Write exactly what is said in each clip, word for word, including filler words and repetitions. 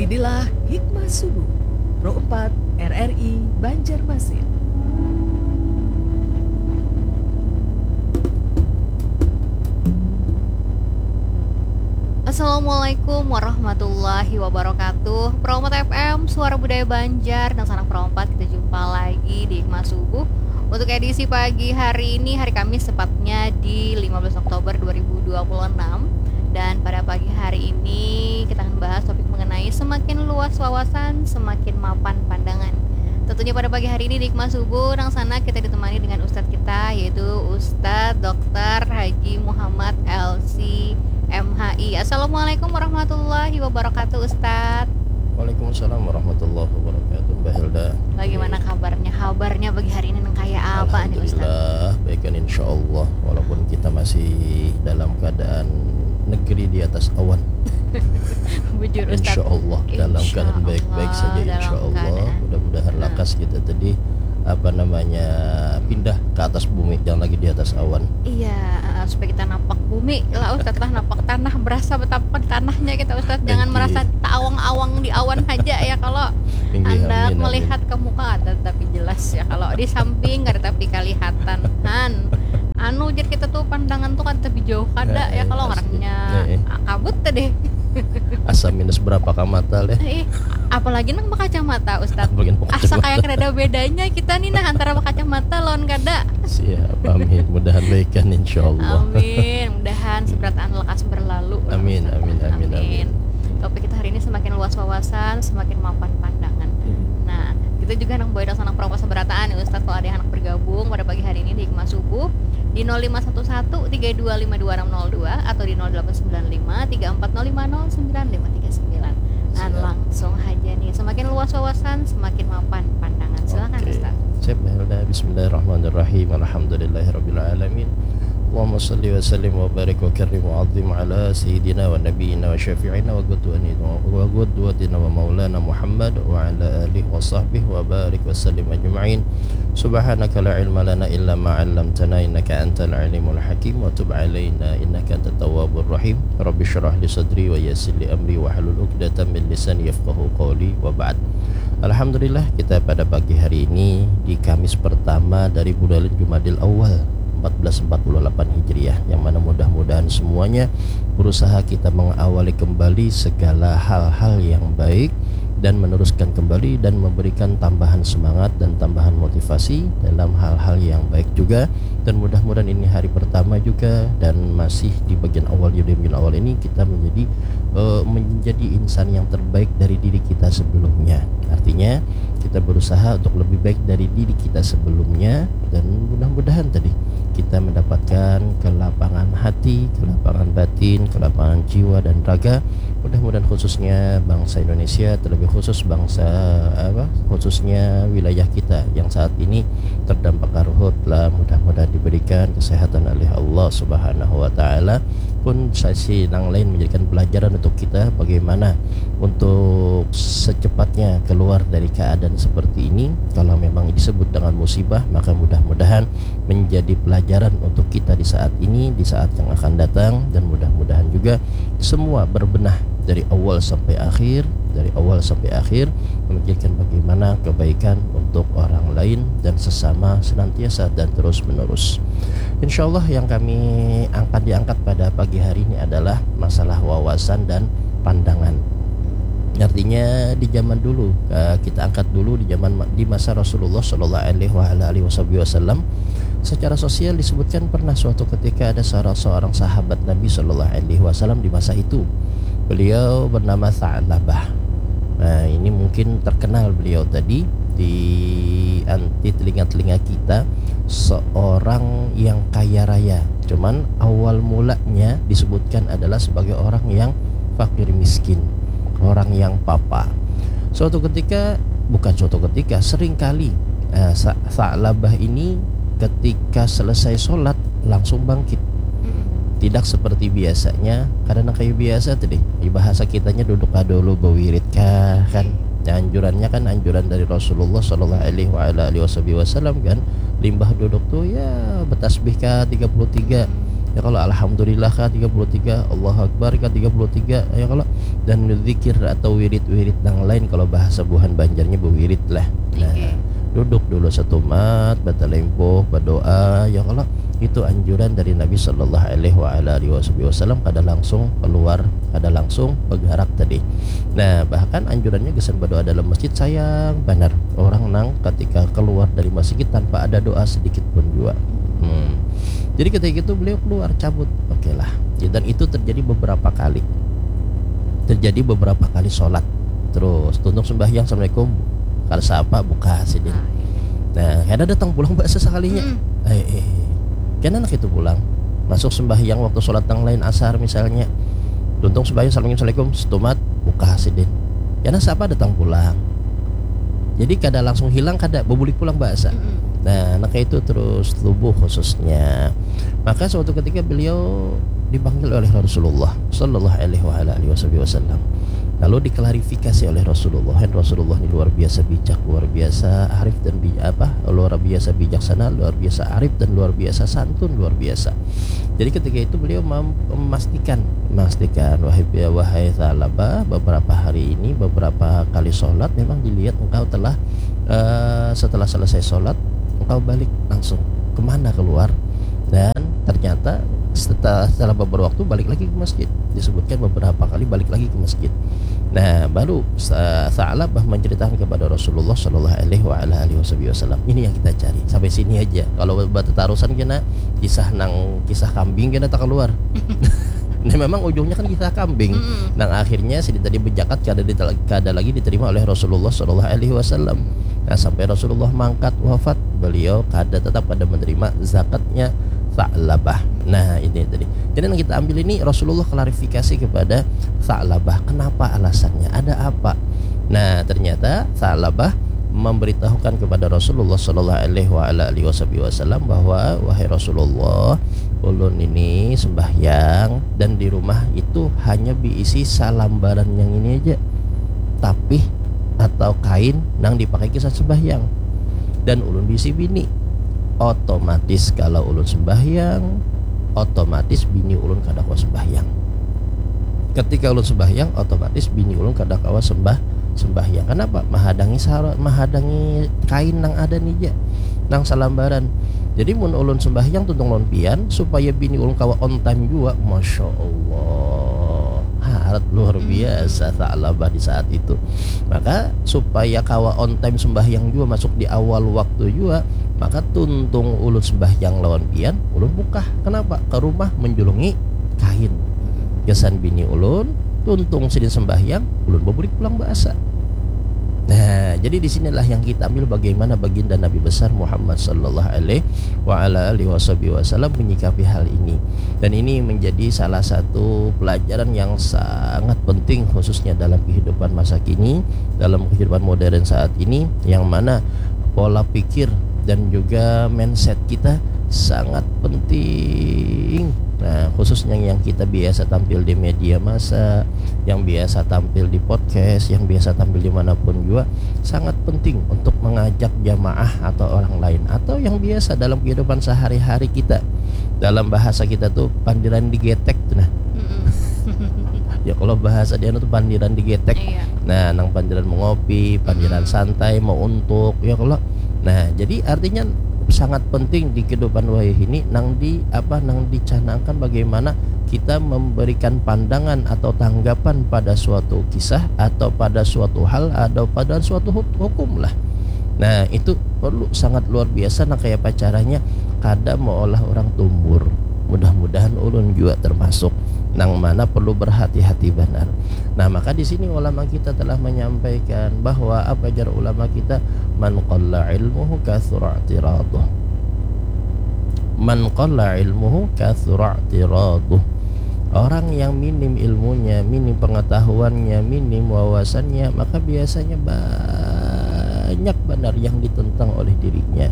Inilah Hikmah Subuh, Pro empat R R I Banjarmasin. Assalamualaikum warahmatullahi wabarakatuh. Pro empat F M, Suara Budaya Banjar, dan sanak Pro empat, kita jumpa lagi di Hikmah Subuh. Untuk edisi pagi hari ini, hari Kamis tepatnya di lima belas Oktober dua ribu dua puluh enam. Dan pada pagi hari ini kita akan bahas topik mengenai semakin luas wawasan, semakin mapan pandangan. Tentunya pada pagi hari ini di Hikmah Subuh, nang sana kita ditemani dengan ustadz kita, yaitu Ustadz doktor Haji Muhammad L C M H I. Assalamualaikum warahmatullahi wabarakatuh, Ustadz. Waalaikumsalam warahmatullahi wabarakatuh, Mbak Hilda. Bagaimana kabarnya? Kabarnya pagi hari ini nang kaya apa nih, Ustadz? Alhamdulillah, baik kan, insya Allah. Walaupun kita masih dalam keadaan negeri di atas awan. Bujur, Ustadz. Insya Allah, dalam keadaan baik-baik saja, insya Allah. Mudah-mudahan lakas kita tadi, apa namanya, pindah ke atas bumi, jangan lagi di atas awan. Iya, eh, supaya kita napak bumi lah, Ustadz lah, napak tanah, berasa betapa tanahnya kita, Ustadz. Jangan merasa taawang-awang di awan saja ya, kalau Anda melihat ke muka ada tapi jelas ya, kalau di samping kada tapi kalihatan. Han, anu, jar kita tuh, pandangan tuh kada tapi jauh kada ya, kalau ngarannya kabut tadi. Asa minus berapa ka mata leh? Ih, apalagi nang berkacamata, Ustadz. Asa kayak kada ada bedanya kita nih nah antara berkacamata lawan kada. Siap, amin. Mudahan baik kan, insya Allah. Amin. Mudahan seberataan lekas berlalu. Amin, amin, amin, amin. Topik kita hari ini semakin luas wawasan, semakin mapan pandangan. Hmm. Nah, kita juga nang boy sanak perompa seberataan nih, Ustadz, kalau ada yang anak bergabung pada pagi hari ini di Hikmah Subuh di nol lima satu satu tiga dua lima dua enam nol dua atau di nol delapan sembilan lima tiga empat nol lima nol sembilan lima tiga sembilan. Nah, langsung aja nih, semakin luas wawasan, semakin mapan pandangan. Silakan, Ustaz. Siap, Hilda. Bismillahirrahmanirrahim. Alhamdulillahirabbil alamin. Allahumma salli wa sallim wa barik wa karrim wa azim ala sayyidina wa nabiyyina wa syafi'ina wa qudwatina wa maulana Muhammad wa ala alihi wa sahbihi wa barik wa sallim ajma'in. Subhanaka la ilma lana illa ma 'allamtana innaka antal alimul hakim wa tub alaina innaka antat tawwabur rahim. Rabbi syrah li sadri wa yassir li amri wa hlul uqdatam min lisani yafqahu qawli wa ba'd. Alhamdulillah, kita pada pagi hari ini di Kamis pertama dari bulan Jumadil Awal empat belas empat puluh delapan Hijriah, yang mana mudah-mudahan semuanya berusaha kita mengawali kembali segala hal-hal yang baik dan meneruskan kembali dan memberikan tambahan semangat dan tambahan motivasi dalam hal-hal yang baik juga. Dan mudah-mudahan ini hari pertama juga dan masih di bagian awal, di bagian awal ini kita menjadi, eh, menjadi insan yang terbaik dari diri kita sebelumnya. Artinya, kita berusaha untuk lebih baik dari diri kita sebelumnya dan mudah-mudahan tadi kita mendapatkan kelapangan hati, kelapangan batin, kelapangan jiwa dan raga. Mudah-mudahan khususnya bangsa Indonesia, terlebih khusus bangsa apa, khususnya wilayah kita yang saat ini terdampak karhutlah, mudah-mudahan diberikan kesehatan oleh Allah Subhanahu wa Ta'ala. Pun sisi nang lain menjadikan pelajaran untuk kita bagaimana untuk secepatnya keluar dari keadaan seperti ini. Kalau memang disebut dengan musibah, maka mudah-mudahan menjadi pelajaran untuk kita di saat ini, di saat yang akan datang, dan mudah-mudahan juga semua berbenah dari awal sampai akhir, dari awal sampai akhir, memikirkan bagaimana kebaikan untuk orang lain dan sesama senantiasa dan terus-menerus. Insya Allah, yang kami angkat, diangkat pada pagi hari ini adalah masalah wawasan dan pandangan. Artinya, di zaman dulu, eh, kita angkat dulu di zaman ma-, di masa Rasulullah Shallallahu Alaihi wa ala alihi Wasallam, secara sosial disebutkan pernah suatu ketika ada salah seorang sahabat Nabi Shallallahu Alaihi Wasallam di masa itu. Beliau bernama Tha'labah. Nah, ini mungkin terkenal beliau tadi di an-, di telinga-telinga kita, seorang yang kaya raya. Cuman awal mulanya disebutkan adalah sebagai orang yang fakir miskin, orang yang papa. Suatu ketika, bukan suatu ketika, sering kali, eh, Sa-, Sa'labah ini ketika selesai sholat langsung bangkit. Mm-mm. Tidak seperti biasanya, karena kayak biasa tadi, bahasa kitanya duduk kah dulu, bewirit kah, kan? Nah, anjurannya kan anjuran dari Rasulullah Shallallahu Alaihi wa ala alihi Wasallam kan, limbah duduk tuh ya betasbih kah tiga puluh tiga, Ya kalau alhamdulillah kah tiga puluh tiga, Allahu Akbar kah tiga puluh tiga, ya kalau, dan zikir atau wirid-wirid nang lain, kalau bahasa buhan Banjarnya bewirid lah. Nah, Oke. Duduk dulu setumat, batalimpuh, berdoa, ya kalau, itu anjuran dari Nabi sallallahu alaihi wa ala alihi wasallam, kada langsung keluar, kada langsung bergerak tadi. Nah, bahkan anjurannya gasan berdoa dalam masjid, sayang banar orang nang ketika keluar dari masjid tanpa ada doa sedikit pun jua. Hmm. Jadi ketika itu beliau keluar, cabut. Oke lah. Dan itu terjadi beberapa kali. Terjadi beberapa kali sholat. Terus tuntung sembahyang, assalamualaikum. Kada sapa, buka sidin. Ah, iya. Nah, kada datang pulang bahasa sekalinya. Mm. Eh, eh. Kena anak itu pulang. Masuk sembahyang waktu sholat nang lain, asar misalnya. Tuntung sembahyang, assalamualaikum, setumat, buka sidin. Kena sapa, datang pulang. Jadi kada langsung hilang, kada, bebulik pulang bahasa. Mm-mm. Nah, anak itu terus tubuh khususnya. Maka suatu ketika beliau dipanggil oleh Rasulullah sallallahu alaihi wa ala alihi wasallam. Lalu diklarifikasi oleh Rasulullah, "Hen, Rasulullah ini luar biasa bijak, luar biasa arif dan bi-, apa, luar biasa bijaksana, luar biasa arif dan luar biasa santun, luar biasa." Jadi ketika itu beliau mem-, memastikan, memastikan, "Wahai, wahai Tha'labah, beberapa hari ini, beberapa kali sholat memang dilihat engkau telah, eh, setelah selesai sholat engkau balik langsung. Kemana keluar?" Dan ternyata setelah, setelah beberapa waktu balik lagi ke masjid. Disebutkan beberapa kali balik lagi ke masjid. Nah, baru Sa-, Sa'labah menceritakan kepada Rasulullah sallallahu alaihi wa ala alihi wasallam. Ini yang kita cari. Sampai sini aja. Kalau bertetarusan kena kisah nang, kisah kambing kena tak keluar. Nah, memang ujungnya kan kisah kambing. Mm-mm. Nang akhirnya sidin tadi bejakat kada dite-, kada lagi diterima oleh Rasulullah sallallahu alaihi wasallam. Nah, sampai Rasulullah mangkat wafat, beliau kada, tetap kada menerima zakatnya Sa'labah. Nah, ini tadi. Jadi yang kita ambil ini Rasulullah klarifikasi kepada Sa'labah. Kenapa alasannya? Ada apa? Nah, ternyata Sa'labah memberitahukan kepada Rasulullah sallallahu alaihi wa ala alihi wasallam bahwa, "Wahai Rasulullah, ulun ini sembahyang dan di rumah itu hanya diisi salambaran yang ini aja. Tapih atau kain nang dipakai kisah sembahyang. Dan ulun bisi bini. Otomatis kalau ulun sembahyang, otomatis bini ulun kada kawa sembahyang. Ketika ulun sembahyang, otomatis bini ulun kada kawa sembah, sembahyang. Kenapa? Mahadangi sara-, mahadangi kain nang ada nih ja, nang salambaran. Jadi mun ulun sembahyang tuntung lawan pian, supaya bini ulun kawa on time jua." Masya Allah, harat luar biasa Sa'labah di saat itu. Maka supaya kawa on time sembahyang jua, masuk di awal waktu jua, maka tuntung ulun sembahyang lawan pian, ulun bukah. Kenapa? Ke rumah menjulungi kain. Gasan bini ulun, tuntung sidin sembahyang, ulun bebulik pulang bahasa. Nah, jadi di sinilah yang kita ambil bagaimana baginda Nabi besar Muhammad sallallahu alaihi wa ala alihi wasallam menyikapi hal ini. Dan ini menjadi salah satu pelajaran yang sangat penting khususnya dalam kehidupan masa kini, dalam kehidupan modern saat ini, yang mana pola pikir dan juga mindset kita sangat penting. Nah, khususnya yang kita biasa tampil di media massa, yang biasa tampil di podcast, yang biasa tampil dimanapun juga, sangat penting untuk mengajak jamaah atau orang lain, atau yang biasa dalam kehidupan sehari-hari kita. Dalam bahasa kita tuh pandiran digetek tuh nah. Mm-mm. Ya kalau bahasa dia tuh pandiran digetek. Iya. Nah, nang pandiran mengopi, pandiran Mm-mm. santai, mau untuk, ya kalau. Nah, jadi artinya sangat penting di kehidupan wayah ini nang di apa, nang dicanangkan bagaimana kita memberikan pandangan atau tanggapan pada suatu kisah atau pada suatu hal atau pada suatu huk-, hukum lah. Nah, itu perlu sangat luar biasa. Nah, kayak apa caranya kada meolah orang tumbur. Mudah-mudahan ulun juga termasuk nang mana perlu berhati-hati banar. Nah, maka di sini ulama kita telah menyampaikan bahwa apa jar ulama kita, "Man qalla ilmuhu kathura i'tiraduh." "Man qalla ilmuhu kathura i'tiraduh." Orang yang minim ilmunya, minim pengetahuannya, minim wawasannya, maka biasanya banyak banar yang ditentang oleh dirinya.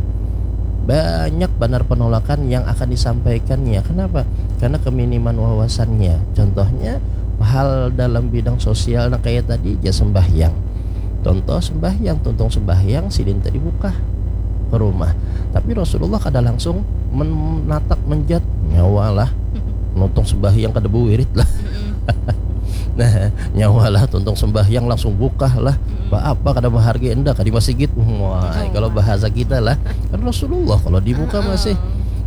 Banyak banar penolakan yang akan disampaikannya. Kenapa? Karena keminiman wawasannya. Contohnya, hal dalam bidang sosial nah kayak tadi, ja sembahyang. Contoh sembahyang, tuntung sembahyang, sidin tadi bukah. ke rumah. Tapi Rasulullah kada langsung menatap menjat, nyawa lah. Nuntung sembahyang kada bewirid lah. Mm-mm. Nah, nyawa lah tuntung sembahyang langsung bukah lah. Mm-mm. Ba apa kada menghargai enda ka di masjid. Wah, Oh. Kalau bahasa kita lah. Kan Rasulullah kalau di muka Heeh. masih.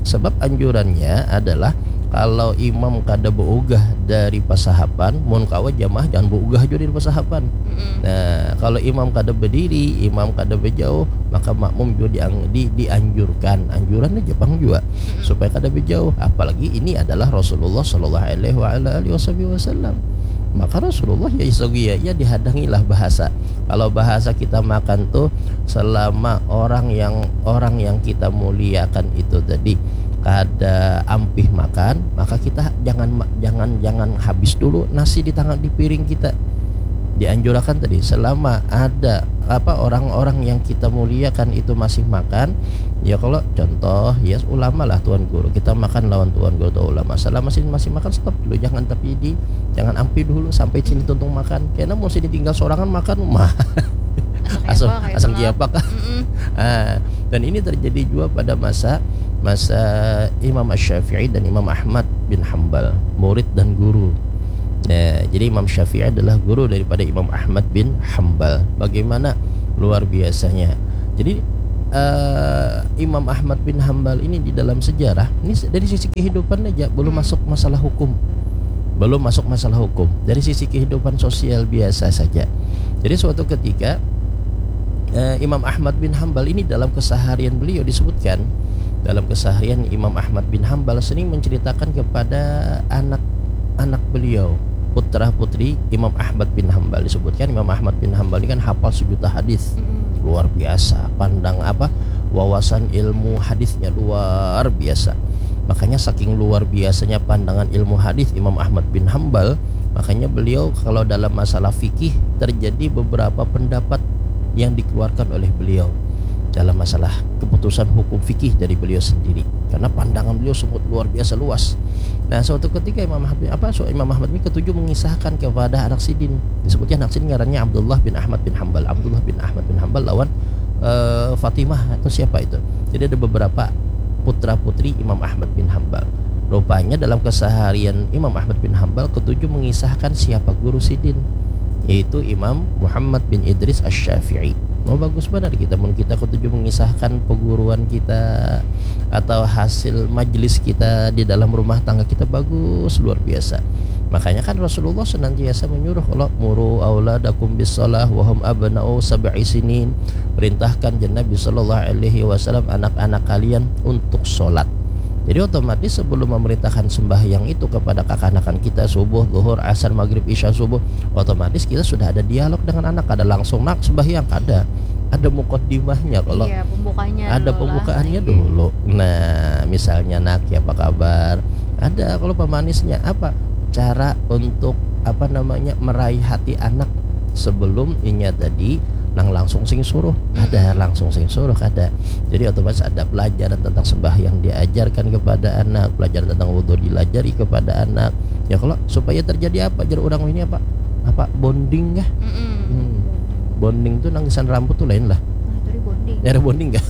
Sebab anjurannya adalah kalau imam kada beugah dari pasahapan, mun kawa jamaah jangan beugah juga dari pasahapan. Mm-mm. Nah, kalau imam kada berdiri, imam kada berjauh, maka makmum juga diang, di, dianjurkan. Anjuran aja pang juga Mm-mm. supaya kada berjauh. Apalagi ini adalah Rasulullah sallallahu alaihi wa ala alihi wasallam. Maka Rasulullah ya isogia ya dihadangilah bahasa. Kalau bahasa kita makan tuh selama orang yang orang yang kita muliakan itu tadi kada ampih makan, maka kita jangan ma- jangan jangan habis dulu nasi di tangan di piring kita. Dianjurakan tadi selama ada apa orang-orang yang kita muliakan itu masih makan, ya kalau contoh ya ulama lah tuan guru, kita makan lawan tuan guru atau ulama, selama sini masih makan stop dulu, jangan tapi di jangan ampi dulu sampai sini tuntung makan, karena mau sini tinggal sorangan makan mah Asal asal kiapa, kayak asal itulah. Kiapa kah? Mm-mm. Ah, dan ini terjadi juga pada masa masa Imam Asy-Syafi'i dan Imam Ahmad bin Hambal, murid dan guru. Nah, jadi Imam Syafi'i adalah guru daripada Imam Ahmad bin Hambal. Bagaimana luar biasanya. Jadi eh, Imam Ahmad bin Hambal ini di dalam sejarah, ini se- dari sisi kehidupan aja belum Hmm. masuk masalah hukum. Belum masuk masalah hukum. Dari sisi kehidupan sosial biasa saja. Jadi suatu ketika eh, Imam Ahmad bin Hambal ini dalam keseharian beliau disebutkan, dalam keseharian Imam Ahmad bin Hambal sering menceritakan kepada anak-anak beliau, putra putri Imam Ahmad bin Hambal. Disebutkan Imam Ahmad bin Hambal ini kan hafal sejuta hadis. Mm-mm. Luar biasa pandang apa wawasan ilmu hadisnya luar biasa. Makanya saking luar biasanya pandangan ilmu hadis Imam Ahmad bin Hambal, makanya beliau kalau dalam masalah fikih terjadi beberapa pendapat yang dikeluarkan oleh beliau dalam masalah keputusan hukum fikih dari beliau sendiri, karena pandangan beliau sangat luar biasa luas. Nah, suatu ketika Imam Ahmad bin, apa so, Imam Ahmad bin ketujuh mengisahkan kepada anak sidin, disebutnya anak sidin ngarannya Abdullah bin Ahmad bin Hambal. Abdullah bin Ahmad bin Hambal lawan eh, Fatimah atau siapa itu. Jadi ada beberapa putra putri Imam Ahmad bin Hambal. Rupanya dalam keseharian Imam Ahmad bin Hambal ketujuh mengisahkan siapa guru sidin, yaitu Imam Muhammad bin Idris Asy-Syafi'i. Mau bagus benar kita mun kita ketujuh mengisahkan peguruan kita atau hasil majlis kita di dalam rumah tangga kita bagus luar biasa. Makanya kan Rasulullah senantiasa menyuruh kalau muru auladakum bis shalah wahum abna'u sab'i sinin. Perintahkan jen Nabi sallallahu alaihi wasallam anak-anak kalian untuk sholat. Jadi otomatis sebelum memerintahkan sembahyang itu kepada kakanakan kita subuh, zuhur, asar, maghrib, isya, subuh, otomatis kita sudah ada dialog dengan anak. Kada langsung nak sembahyang, kada. Ada mukaddimahnya kalau Iya, pembukanya ada dulu lah. Pembukaannya Iya. Dulu. Nah, misalnya nak ya apa kabar? Ada kalau pemanisnya apa? Cara untuk apa namanya meraih hati anak sebelum inya tadi nang langsung sing suruh. Ada Mm-mm. Langsung sing suruh kada. Jadi otomatis ada pelajaran tentang sembahyang diajarkan kepada anak, pelajaran tentang wudhu dilajari kepada anak. Ya kalau supaya terjadi apa jar orang ini apa? Apa bonding kah? Mm-mm. Hmm. Bonding tuh nang gasan rambut tuh lain lah. Nah, tadi bonding. Ada bonding kah?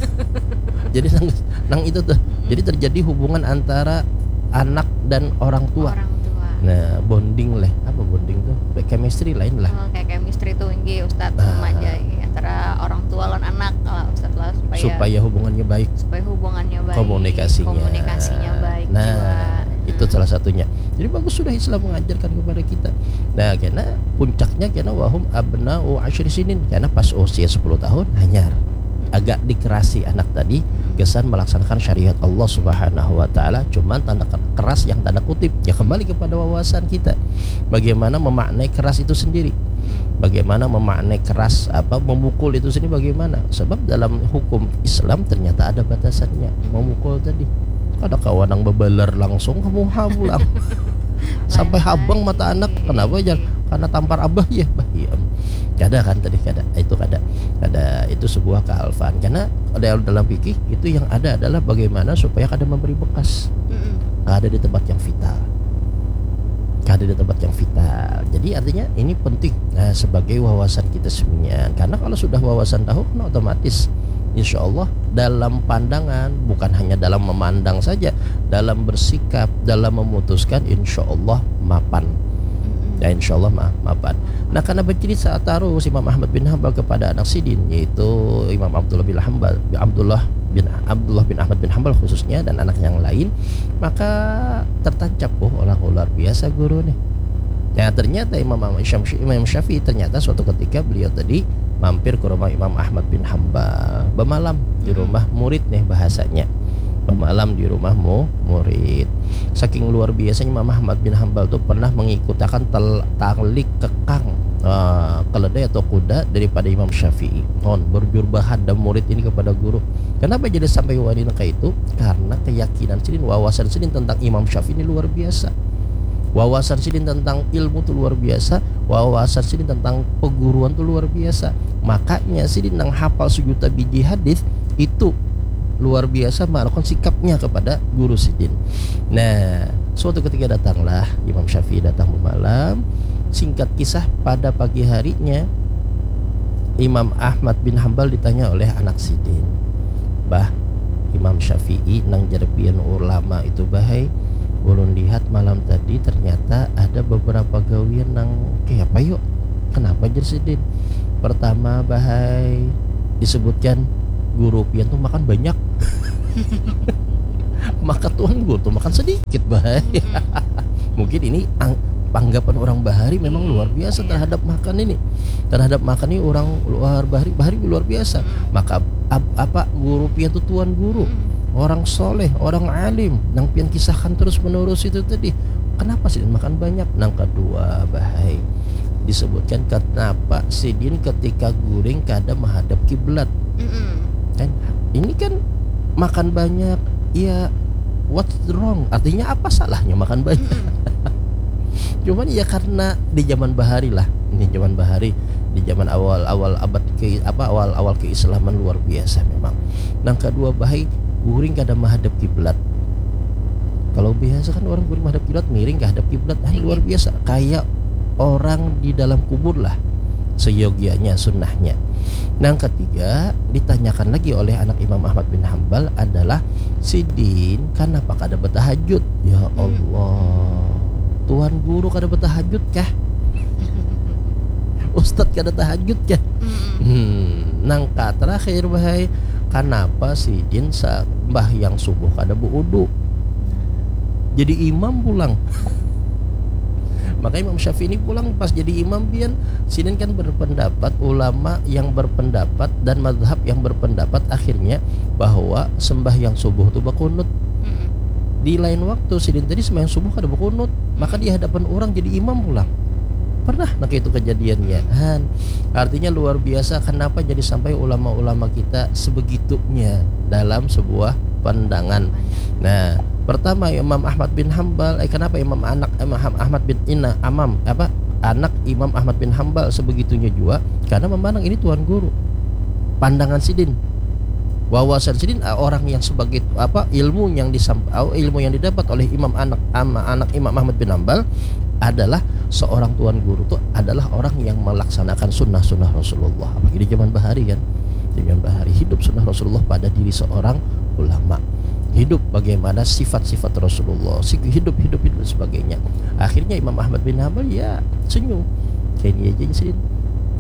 Jadi nang, nang itu tuh. Jadi terjadi hubungan antara anak dan orang tua. Orang tua. Nah, bonding lah. Apa bonding tuh? Kayak chemistry lain lah. Oh, kayak chemistry tuh, nggih, Ustadz, Nah. sama aja, nggih, antara orang tua lawan anak, kalau Ustadz lah, supaya Supaya hubungannya baik. Supaya hubungannya baik, Komunikasinya. Komunikasinya baik Nah, juga. Itu salah satunya. Jadi bagus sudah Islam mengajarkan kepada kita. Nah, karena puncaknya karena wahum abna'u asyri sinin, karena pas usia sepuluh tahun hanyar agak dikerasi anak tadi kesan melaksanakan syariat Allah Subhanahu wa taala, cuman tanda ker-, keras yang tanda kutip. Ya kembali kepada wawasan kita. Bagaimana memaknai keras itu sendiri? Bagaimana memaknai keras apa memukul itu sendiri bagaimana? Sebab dalam hukum Islam ternyata ada batasannya. Memukul tadi. Kada kawa nang bebalar langsung kamu pulang. Sampai habang mata anak. Kenapa jar? Karena tampar abah ya. Bah, iya. Kada kan tadi kada. Itu kada. Kada, itu sebuah kealfaan. Karena ada dalam fikih itu yang ada adalah bagaimana supaya kada memberi bekas. Mm-mm. Kada di tempat yang vital. Kada di tempat yang vital. Jadi artinya ini penting, nah, sebagai wawasan kita semuanya. Karena kalau sudah wawasan tahu kan otomatis insya Allah dalam pandangan, bukan hanya dalam memandang saja, dalam bersikap, dalam memutuskan, insya Allah mapan. Ya, insya Allah ma- mapan. Nah, karena bercerita terus Imam Ahmad bin Hambal kepada anak sidin, yaitu Imam Abdullah bin Hambal, Abdullah bin Abdullah bin Ahmad bin Hambal khususnya dan anak yang lain, maka tertancap, oh, orang luar biasa guru nih. Nah, ternyata Imam Imam Syafi'i, Imam Syafi'i ternyata suatu ketika beliau tadi mampir ke rumah Imam Ahmad bin Hambal, bermalam di rumah murid nih bahasanya, bermalam di rumah mu- murid. Saking luar biasanya Imam Ahmad bin Hambal tuh pernah mengikutakan tel- tali kekang, eh, keledai atau kuda daripada Imam Syafi'i. Non, berjur bahada murid ini kepada guru. Kenapa jadi sampai wani nang kaitu? Karena keyakinan sidin, wawasan sidin tentang Imam Syafi'i ini luar biasa. Wawasan sidin tentang ilmu tu luar biasa, wawasan sidin tentang peguruan tu luar biasa. Makanya sidin nang hafal sejuta biji hadis itu luar biasa melakukan sikapnya kepada guru sidin. Nah, suatu ketika datanglah Imam Syafi'i datang bermalam. Singkat kisah, pada pagi harinya Imam Ahmad bin Hambal ditanya oleh anak sidin, "Bah, Imam Syafi'i nang jar pian ulama itu, bahai, ulun lihat malam tadi ternyata ada beberapa gawian nang kaya apa yuk? Kenapa?" jar sidin. "Pertama, bahai, disebutkan guru pian tuh makan banyak." Maka tuan guru tuh makan sedikit, bahai. Mungkin ini ang- tanggapan orang bahari memang luar biasa terhadap makan ini. Terhadap makan ini orang luar bahari, bahari luar biasa. Maka ap- apa guru pian tuh tuan guru, orang soleh, orang alim, nang pian kisahkan terus menerus itu tadi. Kenapa sidin makan banyak? Nang kedua, bahai, disebutkan kenapa sidin ketika guring kada menghadap kiblat. Kan ini kan makan banyak, ya, what's wrong? Artinya apa salahnya makan banyak? Cuman ya karena di zaman bahari lah, ini zaman bahari, di zaman awal-awal abad ke apa awal-awal keislaman luar biasa memang. Nang kedua, bahai, guring kada menghadap kiblat. Kalau biasa kan orang guring menghadap kiblat, miring ke hadap kiblat, ah, luar biasa, kayak orang di dalam kubur lah, seyogianya sunnahnya. Nang ketiga, ditanyakan lagi oleh anak Imam Ahmad bin Hambal adalah, "Sidin, kenapa kada bertahajud?" Ya Allah, tuan guru kada bertahajud kah? Ustadz kada tahajud kah? Hmm, nang ka terakhir, bahai, kenapa sidin sembahyang subuh kada berudu? Jadi imam pulang. Maka Imam Syafi'i ini pulang pas jadi imam pian, sidin kan berpendapat, ulama yang berpendapat dan mazhab yang berpendapat akhirnya bahwa sembahyang subuh tu bakunut. Di lain waktu sidin tadi sembahyang subuh kada bakunut, maka di hadapan orang jadi imam pulang. Pernah nang kaitu kejadiannya. Han, artinya luar biasa kenapa jadi sampai ulama-ulama kita sebegitunya dalam sebuah pandangan. Nah, pertama, Imam Ahmad bin Hambal, eh, kenapa Imam anak Imam Ahmad bin Ina Amam apa anak Imam Ahmad bin Hambal sebegitunya juga? Karena memandang ini tuan guru. Pandangan sidin, wawasan sidin, eh, orang yang sebagai apa ilmu yang disam, eh, ilmu yang didapat oleh Imam anak ama- anak Imam Ahmad bin Hambal adalah seorang tuan guru tuh adalah orang yang melaksanakan sunnah-sunnah Rasulullah. Apalagi di zaman bahari kan, di zaman bahari hidup sunnah Rasulullah pada diri seorang ulama, hidup bagaimana sifat-sifat Rasulullah, si- hidup hidup hidup dan sebagainya. Akhirnya Imam Ahmad bin Hambal ya senyum, kayak ini aja sih,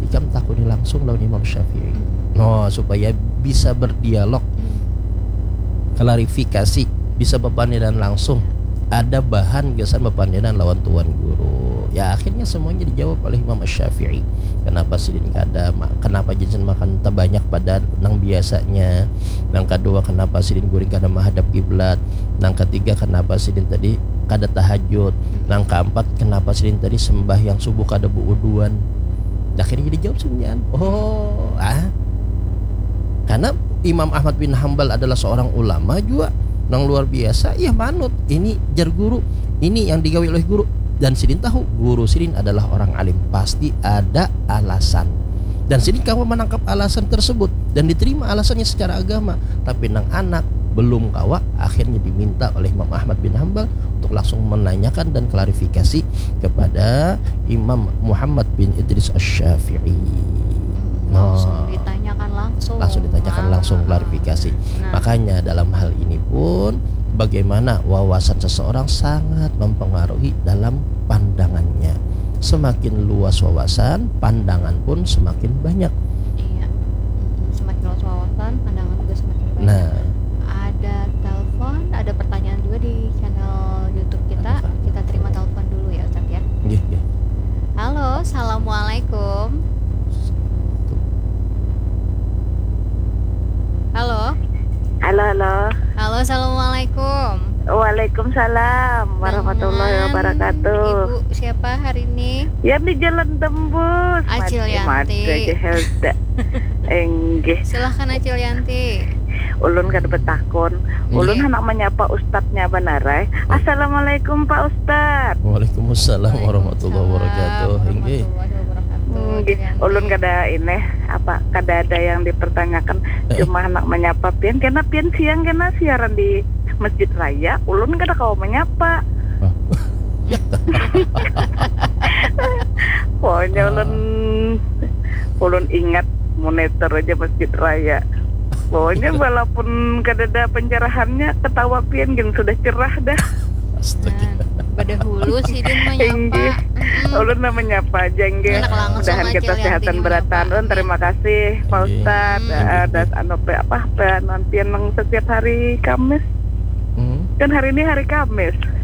ikam takuni langsung lawan Imam Syafi'i, no, supaya bisa berdialog, klarifikasi, bisa bepandiran langsung, ada bahan gasan bepandiran lawan tuan guru. Ya, akhirnya semuanya dijawab oleh Imam Syafi'i. Kenapa sidin kada ma- kenapa jinsin makan terbanyak pada nang biasanya? Nang kedua, kenapa sidin guring kada menghadap kiblat? Nang ketiga, kenapa sidin tadi kada tahajud? Nang keempat, kenapa sidin tadi sembahyang subuh kada beuduan? Akhirnya dijawab semuanya. Oh, ah, karena Imam Ahmad bin Hambal adalah seorang ulama juga nang luar biasa, ya manut ini jar guru, ini yang digawi oleh guru, dan sidin tahu guru sidin adalah orang alim, pasti ada alasan, dan sidin kawa menangkap alasan tersebut dan diterima alasannya secara agama. Tapi nang anak belum kawa, akhirnya diminta oleh Imam Ahmad bin Hambal untuk langsung menanyakan dan klarifikasi kepada Imam Muhammad bin Idris Asy-Syafi'i. Langsung Oh. Ditanyakan langsung. Langsung ditanyakan Ah. Langsung klarifikasi. Nah. Makanya dalam hal ini pun bagaimana wawasan seseorang sangat mempengaruhi dalam pandangannya. Semakin luas wawasan, pandangan pun semakin banyak. Iya. Mm-mm. Semakin luas wawasan, pandangan juga semakin banyak. Nah, Ada telepon, ada pertanyaan juga di channel YouTube kita. Apakah? Kita terima telepon dulu ya, Ustaz ya. nggih, nggih. Halo, assalamualaikum. Halo. Halo, halo. Halo, assalamualaikum. Waalaikumsalam warahmatullahi Dengan wabarakatuh. Ibu siapa hari ini? Ya, di Jalan Tembus. Acil Mati, Yanti. mati aja, Helda. Enggih. Silahkan, Acil Yanti. Ulun kada betakun. Ulun Iya. Handak menyapa ustadznya banarai. Assalamualaikum, Pak Ustadz. Waalaikumsalam warahmatullahi wabarakatuh. Waalaikumsalam Inggih. warahmatullahi wabarakatuh. Enggih. Acil Yanti. Ulun kada ini apa, kada ada yang dipertanyakan. Eh. Cuma handak menyapa pian, karena pian siang kena siaran di Masjid Raya. Ulun kada kawa menyapa. Hah? Pokoknya Ah. ulun ulun ingat monitor aja Masjid Raya. Pokoknya walaupun kada ada pencerahannya, ketawa pian gin sudah cerah dah. Astaga. Nah, badahulu sidin menyapa. Inggih. Mm-mm. Ulun lah menyapa aja, enggih. Anak langsung Mudahan aja kita Yanti sehatan menyapa. berataan. Ulun terima kasih, Pak Inggih. Ustadz. Inggih, Eh, inggih. Das anu pe apa pe nantian nang setiap hari Kamis. Hmm. Kan hari ini hari Kamis.